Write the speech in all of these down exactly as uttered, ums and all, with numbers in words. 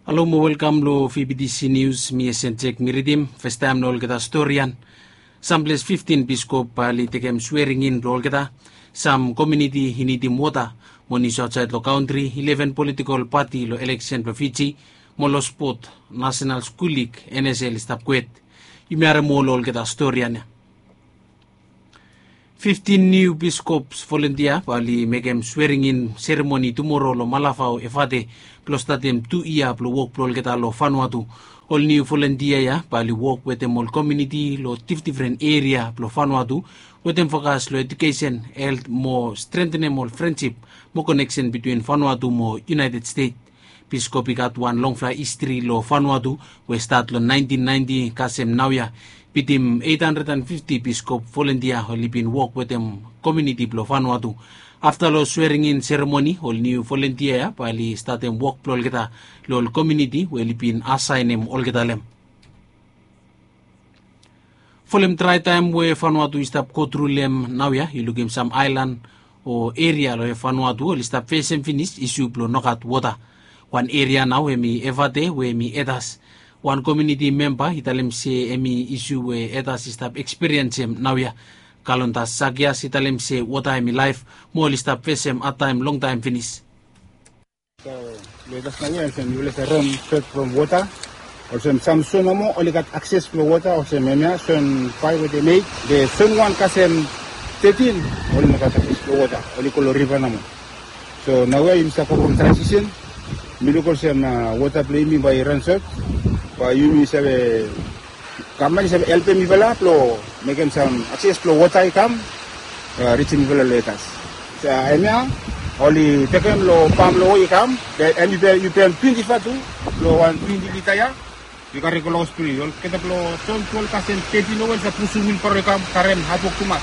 Halo mo welkam lo V B T C News, mi Esen Jek mi ridim. Festaem lo olgeta storian. Samples fiftin piskop bae oli tekem sweringin blo olgeta. Sam komuniti i nidim wota mo nius aotsaed lo kantri, ileven politikol pati lo eleksen blo Fiji, mo lo spot, Nasenal Skul Lig, N S L, i stap kwet. Yumi harem ol olgeta storian ya. Fiftin niu piskops volontia bae oli mekem sweringin seremoni tumoro lo Malafao, Efate, blo statem tu yia blo wok blo olgeta lo Vanuatu. Ol niu volontia ya bae oli wok wetem ol komuniti lo difdifren eria blo Vanuatu, wetem fokas lo ejukesen, helt mo strentenem ol frensip mo koneksen bitwin Vanuatu mo United States. Piskop i gat wan longfala histri lo Vanuatu, we stat lo naentin naenti kasem naoia. Bitim eit handred an fifti piskop volontia oli bin wok wetem komuniti blo Vanuatu. Afta lo sweringin seremoni, ol niu volontia ya bae oli statem wok blo olgeta lo ol komuniti we oli bin asaenem olgeta lo hem. Folem draetaem we Vanuatu i stap gotru lo hem naoia, i lukim sam aelan o eria lo Vanuatu oli stap fesem finis isu blo nogat wota. Wan eria nao hemi Efate we hemi Etas. Wan komuniti memba i talem se hemi isu we Etas i stap ekspiriensem naoia. Kalontas Sakias i talem se wota hemi laef, mo oli stap fesem hadtaem longtaem finis. Lo Etas naoia olsem yufala save ran sot from wota. Olsem sam zon nomo oli gat akses blo wota, olsem hemia zon faef we dem meit. Be zon wan kasem tetin oli no gat akses blo wota, oli go lo riva nomo. So naoia yumi stap go from transisen. Mi luk olsem wota blo yumi bae i ran sot. Bae yumi save Gavman i save helpem yufala blo mekem sam akses blo wota i kam, rijim yufala lo Etas. Hemia oli tekem lo pam lo we i kam, be hem i pem twenti vatu lo wan twenti lita ya. Yu kare go lo haos blo yu. Olgeta blo zon twelve kasem tetin nomo oli save pusum wilbaro i kam karem hadwok tumas.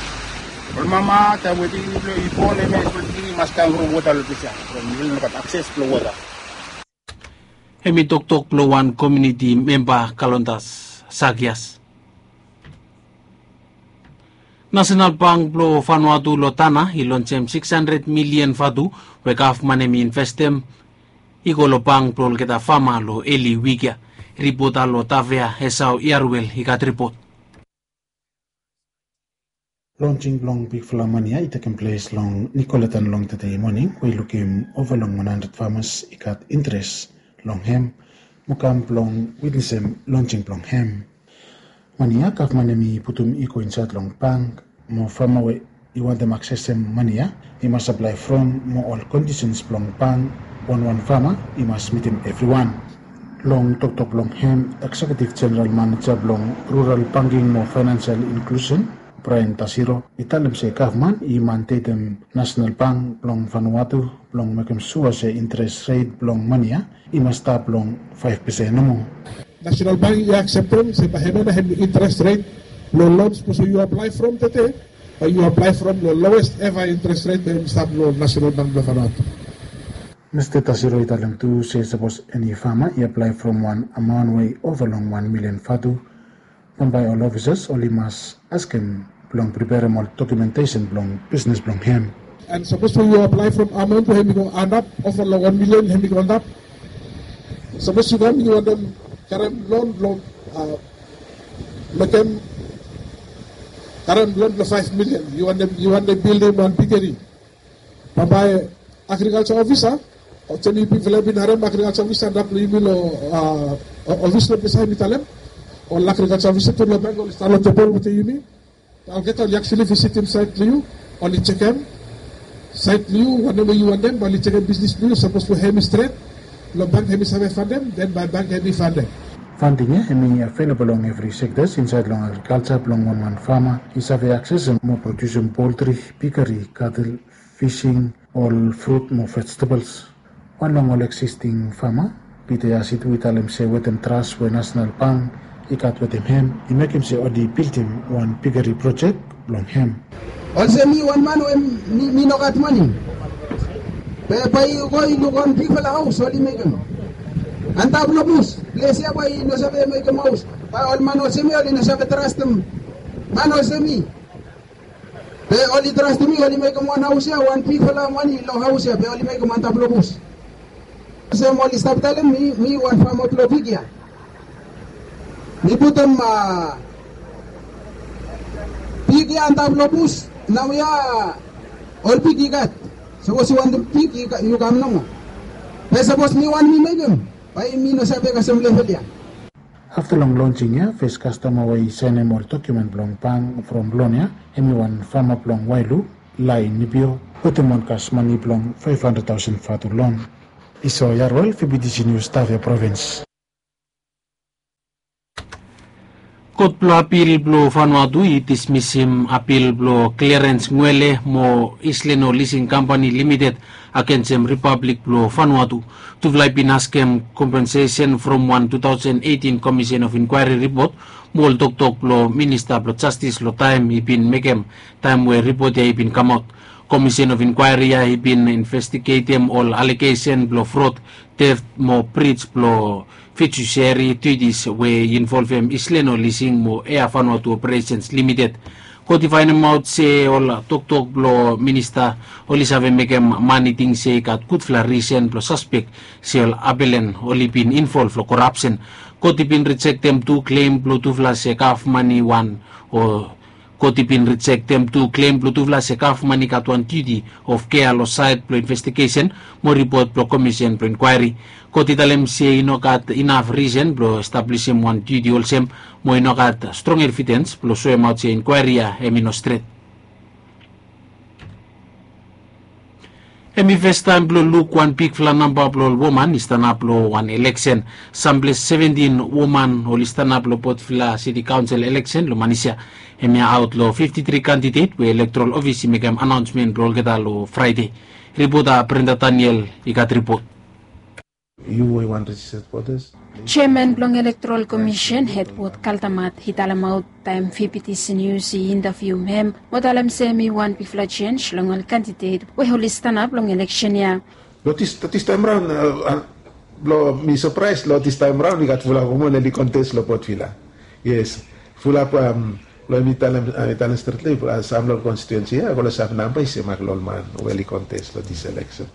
Ol mama taem we pikinini blo yu i bon, hemia ol pikinini i mas kam from wota lo ples ya, from yufala no gat akses blo wota. Hemi toktok blo wan komuniti memba, Kalontas Sakias. Nasenal Bank blo Vanuatu lo Tanna i lonsem sikis handred milian vatu we gavman hemi investem i go lo bank blo olgeta fama lo eli wik ya. Ripota lo Tavea, Esau Iaruel i gat ripot. Lonsing blong bigfala mani ya i tekem ples long Nicolatan long tede moning, we i lukim ova long wan handred famas i gat interes long hem mo kam blong witnesem lonsing blong hem. Mani ya gavman hemi putum i go insaed long bank, mo fama we i wantem aksesem mani ya i mas aplae from, mo ol kondisens blong bank wanwan fama i mas mitim evriwan. Long toktok blong hem, ekseketiv jeneral maneja blong rural banking mo faenansial inklusen, Brian Tasiro, i talem se gavman i mandetem Nasenal Bank blong Vanuatu blong mekem sua se interes ret blong mani ya i mas stap long faef pesen nomo. Nasenal Bank i akseptem se bae hemia nao hemi interes ret blong lon, sapos yu aplae from tede, bae yu aplae from lo lowest eva interes ret we hemi stap lo Nasenal Bank blong Vanuatu. Mista Tasiro i talem tu se sapos eni fama i aplae from wan amaon we i ova long wan milian vatu, bambae ol ofisas oli mas askem blong preperem ol dokumentesen blong bisnes blong hem. And sapos we yu aplae from amaon we hemi go antap, ova long wan milian hemi go antap. Sapos yu kam yu wantem karem lon blong, a, mekem, karem lon blong faef milian, yu wantem, yu wantem bildim wan pigeri. Bambae agrikalja ofisa, olsem yumi, yufala bin harem agrikalja ofisa antap lo yumi lo, a, ofis lo ples ya, hemi talem ol agrikalja ofisa tu lo bank oli stap lo tebol wetem yumi. Olgeta oli aktuali visitim saet blo yu, oli jekem saet blo yu, wanem we yu wantem, bae oli jekem bisnes blo yu, sapos we hemi stret, lo bank hemi save fandem, den bae bank hemi fandem. Fanding ya hemi avelabol long evri sektas insaed long agrikalja blong wanwan fama i save aksesem mo produsem poltri, pigeri, katel, fising, ol frut mo vejetabels. Wan long ol eksisting fama, Pita Yasitu, i talem se wetem tras we Nasenal Bank i gat wetem hem, i mekem se oli bildim wan pigeri projek blong hem. Olsem mi wan man we mi, mi nogat mane. Be bae yu go yu luk wan bigfala haos oli mekem antap lo bus. Ples ya bae yu no save mekem haos. Bae ol man olsem ya oli no save trastem man olsem mi. Be oli trastem mi, oli mekem wan haos ya, wan bigfala mane long haos ya, be oli mekem antap lo bus. Olsem oli stap talem mi, mi wan fama blong pig ya. Mi putum, a, pig ya antap long bus. Nao ya ol pig i gat. Sapos yu wantem pig, yu kam nomo. Be sapos mi wantem mi mekem, bae mi no save kasem level ya. Afta long lonsing ya, fes kastoma we i saenem ol dokumen blong bank from lon ya, hemi wan fama blong Wailu, Lai Nibio, wetem wan kas mane blong faef handred taosen vatu lon. Iso Yarwel, V B T C News, Tafea Provins. Kot blong apil blong Vanuatu i dismisim apil blong Clarence Ngwele mo Isleno Leasing Company Limited agensem Ripablik blong Vanuatu. Tufala i bin askem kompensesen from wan two thousand eighteen Commission of Inquiry ripot mo ol toktok blong Minista blong Jastis long taem i bin mekem, taem we ripot ya i bin kamaot. Commission of Inquiry ya i bin investigetem ol alegesen blong frod, teft mo brij blong fidusiari dutis we i involvem Isleno Leasing mo Air Vanuatu Operations Limited. Kot i faenemaot se ol toktok blong minista oli save mekem man i ting se i gat gudfala risen blong saspek se ol apelen oli bin involv long korapsen. Kot i bin rijektem tu klem blong tufala se gavman i wan o Kot i bin rijektem tu klem blong tufala se gavman i gat wan duti of kea long saed blong investigesen mo ripot blong komisen blong inkwaeri. Kot i talem se i no gat inaf risen blong establisim wan duti olsem mo i no gat strong evidens blong soemaot se inkwaeri ya hemi no stret. Hemi festaem blong luk wan bigfala namba blong ol woman i stanap long wan eleksen. Samples seventin woman oli stanap long Potvila Siti Kaonsel eleksen long manis ya. Hemia aot long fifti tri kandidet we elektorol ofis i mekem anaonsmen blong olgeta long Fraede. Ripota Brenda Daniel i gat ripot. Yu we i wan rejisted votas. Jeaman blong Elektorol Komisen, Edward Kaldamat, i talemaot taem V B T C Nius i intavium hem mo talem se hemi wan bigfala jenj long ol kandidet we oli stanap long eleksen ya. Long dis, long dis taem raon, a, a, long mi sapraes long dis taem raon i gat fulap woman oli kontes long Potvila. Yes, fulap, am, long mi talem, a, mi talem stret long yu, a, sam long konstituensi ya, a, go long sam namba i semak long ol man we oli kontes long dis eleksen.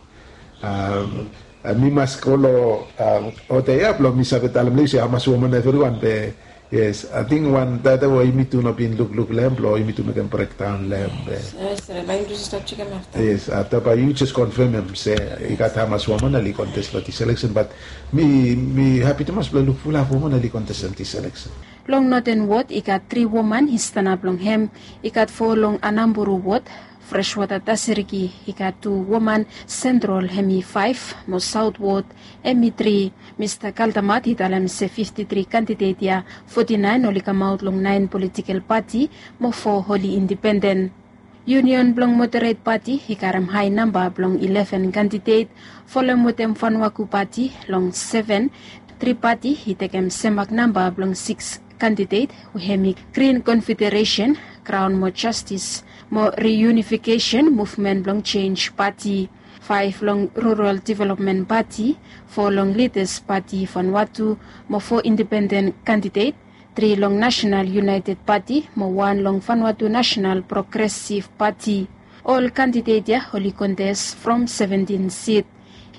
Am, a, mi mas go long, am, oda ya blong mi save talem long yu se hamas woman evriwan be, yes, ating wan data we yumi tu no bin lukluk long hem blong yumi tu mekem brekdaon long hem be. Yes, afta bae yu jes konfemem se i gat hamas woman oli kontes long dis eleksen, bat mi, mi hapi tumas blong luk fulap woman oli kontes long dis eleksen. Long Noten Wod i gat tri woman i stanap long hem, i gat fo long Anamburu Wod, Freshwater Tasiriki i gat tu woman, Sentrol hemi faef, mo Saot Wod hemi tri. Mista Kaldamat i talem se fifti tri kandidet ya, foti naen oli kamaot long naen politikel pati mo fo oli indipenden. Yunion blong Moderet Pati i karem hae namba blong ileven kandidet, folem wetem Vanuaku Pati long seven, Tri Pati i tekem semak namba blong sikis kandidet we hemi Grin Konfederesen, Kraon mo Jastis mo Riunifikesen Muvmen blong Jenj Pati. Faef long Rural Developmen Pati, fo long Lidas Pati Vanuatu mo fo indipenden kandidet, tri long Nasenal Yunaeted Pati mo wan long Vanuatu Nasenal Progresiv Pati. Ol kandidet ya oli kontes from seventin sit.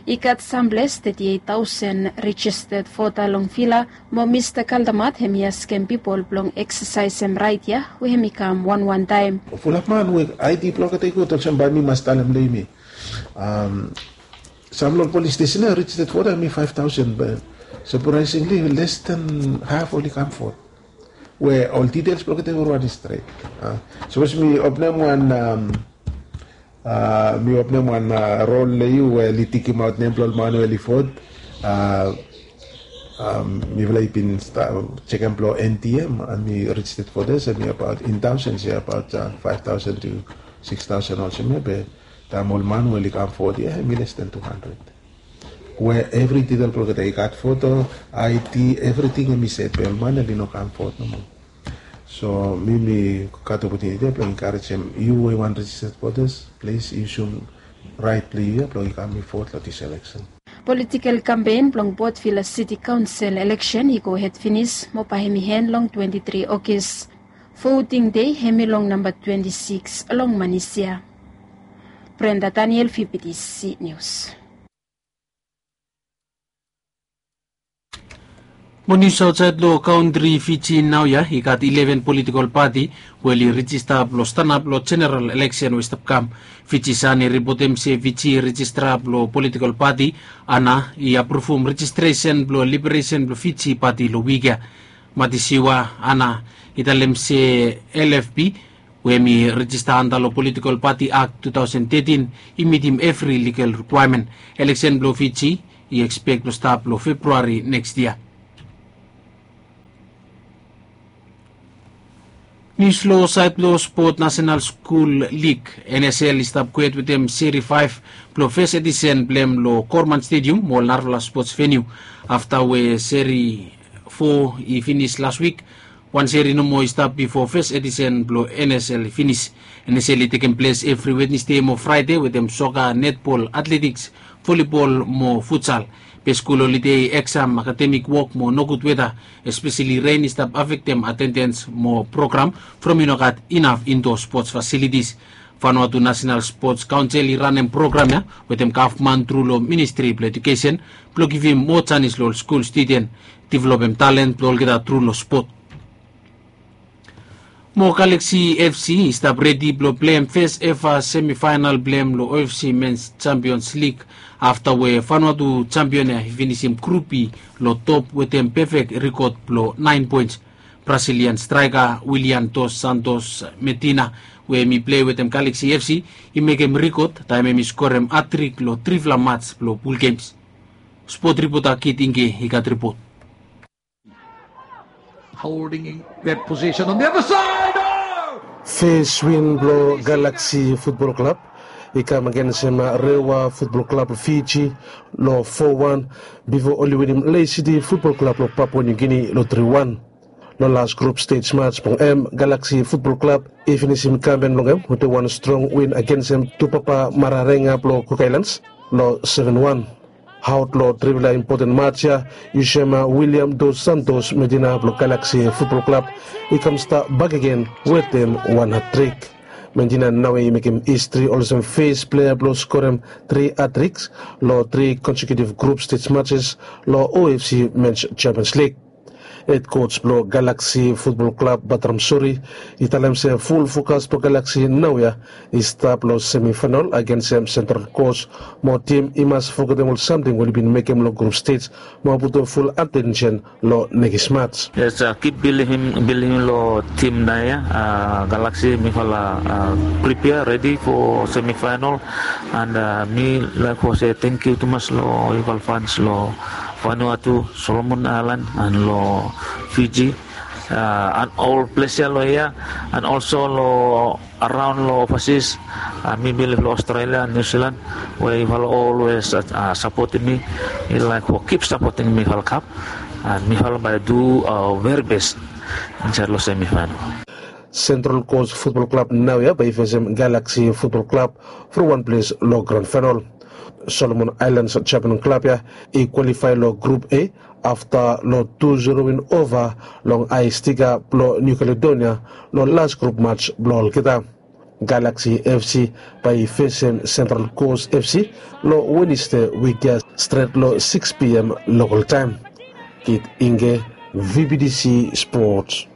I gat samples teti eit taosen rejisted vota long Vila, mo Mista Kaldamat hemi askem pipol blong eksesaesem raet ya we hemi kam wanwan taem. Fulap man we ID blong olgeta i gud olsem bae mi mas talem long yumi. Am, sam long ol polis stesen ya rejisted vota hemi faef taosen be sapraesingli les dan haf oli kam vot. We ol ditels blong olgeta evriwan i stret. A, sapos mi openem wan, am, a, mi openem wan, a, rol long yu we oli tikemaot nem blong ol man we oli vot. A, am, mifala i bin sta-, jekem blong NTM, a, mi rejisted votas hemi abaot in taosens ya abaot, a, faef taosen tu sikis taosen olsem ya be taem ol man we oli kam vot ya hemi les dan tu handred. We evri ditel blong olgeta i gat voto, ID, evriting hemi set be ol man oli no kam vot nomo. So mi, mi gat opotuniti ya blong enkarejem yu we i wan rejisted votas, plis yusum raet blong yu ya blong i kam i vot long dis eleksen. Politikel kampen blong Potvila Siti Kaonsel eleksen i gohed finis mo bae hemi en long twenti tri Ogis. Voting dei hemi long namba twenti sikis long manis ya. Brenda Daniel, V B T C Nius. Mo nius aotsaed long kantri Fiji naoia, i gat ileven politikol pati we oli rijista blong stanap long jeneral eleksen we i stap kam. Fiji Sun i ripotem se Fiji i rijista blong politikol pati ana i apruvum rejistresen blong liberesen blong Fiji pati long wik ya. Matisiwa ana i talem se L F P we hem i rejista anta long politikol pati akt tu taosen tetin i mitim evri ligal rikwaemen. Eleksen blong Fiji i ekspek blong stap long Februari neks yia. Nius long saed blong spot, Nasenal Skul Lig, N S L, i stap kwet wetem seri faef blong fes edisen blong hem long Korman Stedium mo ol narafala spots veniu. Afta we seri fo i finis las wik, wan seri nomo i stap bifo fes edisen blong N S L i finis. N S L i tekem ples evri Wednesde mo Fraede wetem soka, netbol, atletiks, volibol mo futsal. Be skul olide, eksam, akademik wok mo nogud weta, espeseli ren, i stap afektem atendens mo program from i no gat inaf indo spots fasilitis. Vanuatu Nasenal Spots Kaonsel i ranem program ya wetem gavman tru long Ministri blong Ejukesen blong givim moa janis long ol skul studen developem talen blong olgeta tru long spot. Mo Galaxy F C i stap redi blong pleim fes eva semifaenal blong hem long O F C Mens Champions League afta we Vanuatu champion ya i finisim grup B long top wetem pefek rikod blong naen poens. Brazilian straeka Willian Dos Santos Medina we hem i plei wetem Galaxy F C i mekem rikod taem hem i skorem hatrik long trifala mats blong pul gems. Spot ripota Kit Ingke i gat ripot. Holding that position on the other side. Oh! Fes win blong Galaxy Futbol Klab i kam agensem Rewa Futbol Klab Fiji long fo wan bifo oli winim Lae City Futbol Klab blong Papua New Guinea long tri wan. Long las grup stej mats blong hem, Galaxy Futbol Klab i finisim kampen blong hem wetem wan strong win agensem Tupapa Mararenga blong Cook Islands long seven wan. Aot long trifala impoten mats ya, yu sema William Dos Santos Medina blong Galaxy Futbol Klab i kam stap bakegen wetem wan hatrik. Medina naoia i mekem histri olsem fes plea blong skorem tri hatriks long tri konsekiutiv grup stej matses long O F C Mens Champions League. Hed kos blong Galaxy Futbol Klab, Batram Suri, i talem se ful fokas blong Galaxy naoia i stap long semifaenal agensem Central Coast mo tim i mas fogetem ol samting we oli bin mekem long grup stej mo putum ful atensen long nekis mats. Yes, kip bilivim, bilivim long tim naoia, Galaxy, mifala pripea redi fo semifaenal. And mi laek fo se tangkiu tumas long yufala fans long Vanuatu, Solomon Aelan, and long Fiji, and ol ples ya long hia, and olso long araon long ovasis. Mi bilif long Australia, New Zealand, we yufala olwes sapotem mi. Mi laek fo kip sapotem mifala kap, and mifala bae du veri bes insaed long semifaenal. Central Coast Futbol Klab naoia bae i fesem Galaxy Futbol Klab from wan ples long gran faenal. Solomon Aelan Japan klab ya i kwalifae long grup A afta long tu zero win ova long Ae Stika blong Niu Kaledonia long las grup mats blong olgeta. Galaxy F C bae i fesem Central Coast F C long Wenesde wik ya stret long sikis P M lokol taem. Kit Ingke, V B T C Sports.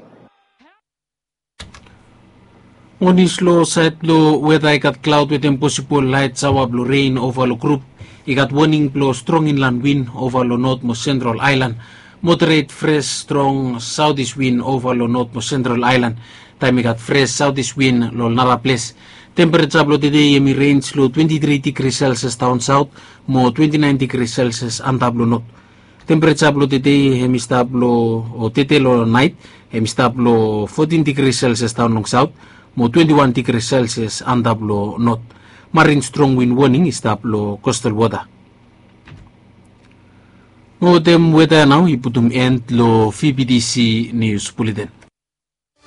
Mo nius long saed blong weta, i gat klaod wetem posibol laet saoa blong ren ova long grup. I gat woning blong strong inlan win ova long Not mo Sentral Aelan. Moderet fres strong saotis win ova long Not mo Sentral Aelan, taem i gat fres saotis win long ol nara ples. Tempereja blong tedei hem i renj long twenti tri digri Celsius daon saot mo twenti naen digri Celsius antap long not. Tempereja blong tedei hem i stap long, o tede long naet, hem i stap long fotin digri Celsius daon long saot mo twenti wan digri Celsius antap long not. Marin strong win woning i stap long kostal wota. Mo wetem weta ya nao i putum en long V B T C Nius Buleten.